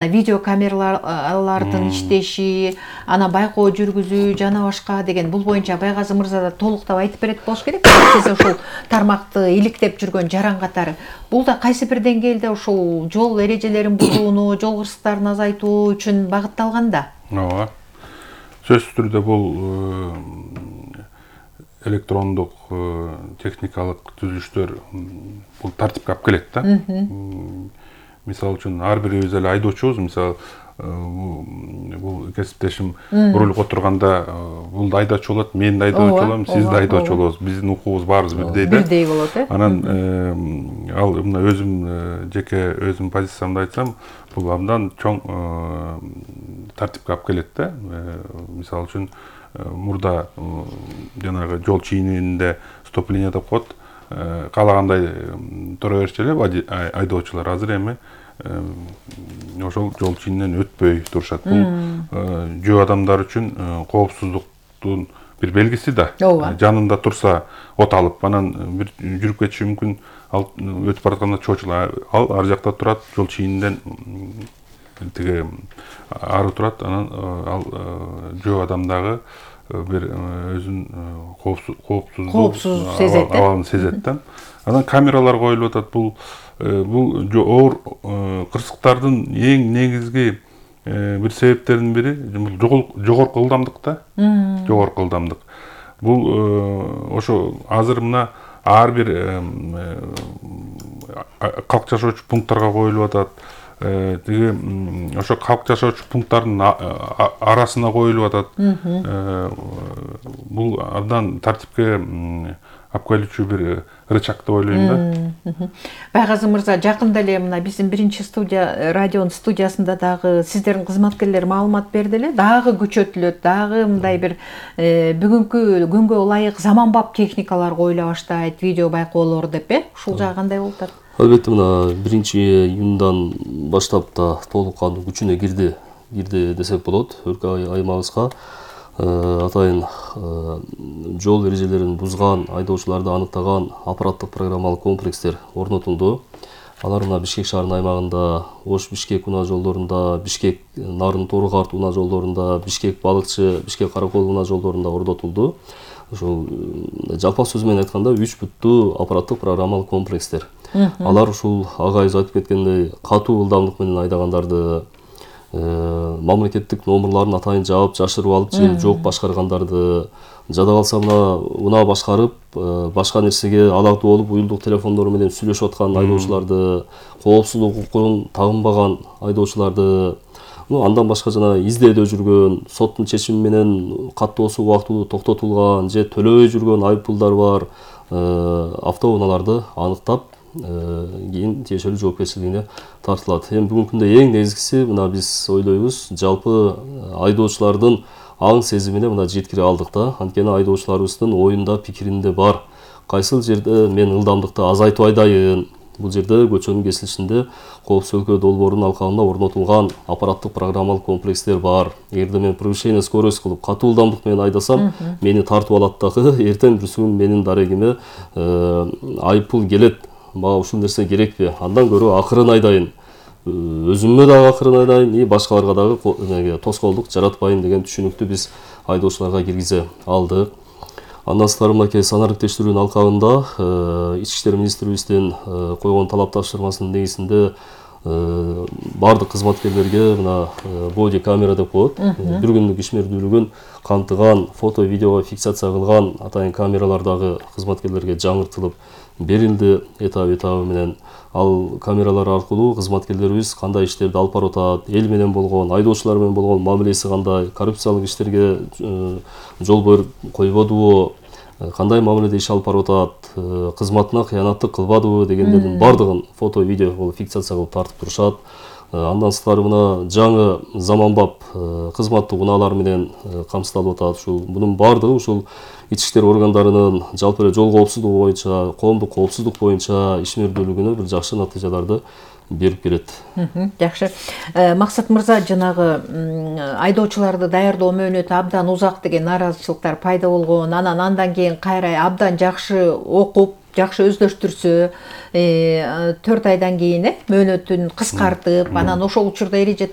видео камералардын иштеши, ана байкоо жүргүзүү жана башка деген бул боюнча Байгазы мырза да толуктап айтып берет болуш керек. Сиз ушул тармакты иликтеп жүргөн жаран катары бул да кайсы бир деңгээлде ушул жол эрежелерин бузууну, жол кырсыктарын азайтуу үчүн багытталган да. Ооба. Сөзсүз түрдө бул электрондук техникалык түзүлүштөр бул тартипке алып келет да. Мисал үчүн ар бирибиз эле айдоочубуз, мисал бул кесиптешим рулга отырганда бул да айдоочу болот, мен да айдоочу болом, сиз да айдоочу болосуз. Биздин укугубуз баарыбыз бирдей да. Бирдей болот, Анан ал мына өзүм жеке өзүм позициямды айтсам, бул абдан чоң тартипке алып келет да. Мисал үчүн мурда жанагы жол чийининде стоп-линия деп коет. Каалагандай тура берчү эле айдоочулар. Азыр эми ошол жол чийининен өтпөй турушат. Бул жөө адамдар үчүн коопсуздуктун бир белгиси да. Жанында турса от алып, анан бир жүрүп кетиши мүмкүн. Ал өтүп баратканда чоочулар, ал ар жакта турат, жол чийининен тиги ары турат. Анан ал жөө адамдагы бир өзүн коопсуздук сезет, абалын сезет да. Анан камералар коюлуп атат. Бул оор кырсыктардын эң негизги бир себептеринин бири жогорку ылдамдык да. Жогорку ылдамдык. Бул ошо азыр мына ар бир калк жашоочу пункттарга коюлуп атат. Тиги ошо калк жашоочу пункттардын арасына коюлуп атат. Бул абдан тартипке алып келүүчү бир рычаг деп ойлойм да. Байгазы мырза, жакында эле мына биздин биринчи студия, радионун студиясында дагы сиздердин кызматкерлер маалымат берди эле. Дагы күчөтүлөт, дагы мындай бир бүгүнкү күнгө ылайык заманбап техникалар коюла баштайт, видео байкоолор деп, ушул жагы кандай болуп атат? Албетте, мына 1-июндан баштап да толук кандуу күчүнө кирди десек болот. Өлкө аймагыбызга атайын жол эрежелерин бузган айдоочуларды аныктаган аппараттык программалык комплекстер орнотулду. Алар мына Бишкек шаарынын аймагында Ош-Бишкек унаа жолдорунда, Бишкек Нарын-Тору-Карт унаа жолдорунда, Бишкек Балыкчы, Бишкек-Каракол унаа жолдорунда орнотулду. Ушул жалпак сөз менен айтканда 3 буттуу аппараттык программалык комплекстер. Алар ушул агайыбыз айтып кеткендей катуу ылдамдык менен айдагандарды, мамлекеттик номерларын атайын жаап жашырып алып же жок башкаргандарды, жада калса мына унаа башкарып, башка нерсеге алактуу болуп уюлдук телефондору менен сүйлөшүп аткан айдоочуларды, коопсуздук укугун тагынбаган айдоочуларды, андан башка жана издөөдө жүргөн, соттун чечими менен каттоосу убактылуу токтотулган же төлөбөй жүргөн айыппулдар бар автоунааларды аныктап, кийин тиешелүү жоопкерчилигине тартылат. Эми бүгүнкү күндө эң негизгиси мына биз ойлойбуз, жалпы айдоочулардын аң сезимине мына жеткире алдык да. Анткени айдоочуларыбыздын оюнда, пикиринде бар. Кайсыл жерде мен ылдамдыкты азайтып айдайын? Бул жерде көчөнүн кесилишинде Коопсуз өлкө долбоорунун алкагында орнотулган аппараттык программалык комплекстер бар. Эгерде мен превышение скорость кылып катуу ылдамдык менен айдасам, мени тартып алат дагы, эртең бир күн менин дарегиме айыппул келет. Мага ушул нерсе керекпи? Андан көрө акырын айдайын. Өзүмө дагы акырын айдайын, и башкаларга дагы тоскоолдук жаратпайын деген түшүнүктү биз айдоочуларга киргизе алдык. Андан сырткары мынакей санардык тештирүүнүн алкагында Ички иштер министрибиздин койгон талап тапшырмасынын негизинде бардык кызматкерлерге мына боди камера деп коет, бир күндүк ишмердүүлүгүн камтыган, фото, видеого фиксация кылган атайын камералар дагы кызматкерлерге жаңыртылып берилди этабы менен. Ал камералар аркылуу кызматкерлерибиз кандай иштерди алып барып атат, эл менен болгон, айдоочулар менен болгон мамилеси кандай, коррупциялык иштерге жол койбодубу, кандай мамиледе иш алып барып атат, кызматына кыянаттык кылбадыбы дегендердин бардыгын фото, видео фиксация кылып тартып турушат. Андан сырткары мына жаңы заманбап кызматтык унаалар менен камсыздалып атат. Мунун бардыгы ушул ички иштер органдарынын жалпы эле жол коопсуздугу боюнча, коомдук коопсуздук боюнча ишмердүүлүгүнө бир жакшы натыйжаларды берип келет. Жакшы. Максат мырза, жанагы айдоочуларды даярдоо мөөнөтү абдан узак деген нааразычылыктар пайда болгон. Андан кийин кайра абдан жакшы окуп, жакшы өздөштүрсө, 4 айдан кийин мөөнөтүн кыскартып, анан ошол учурда эреже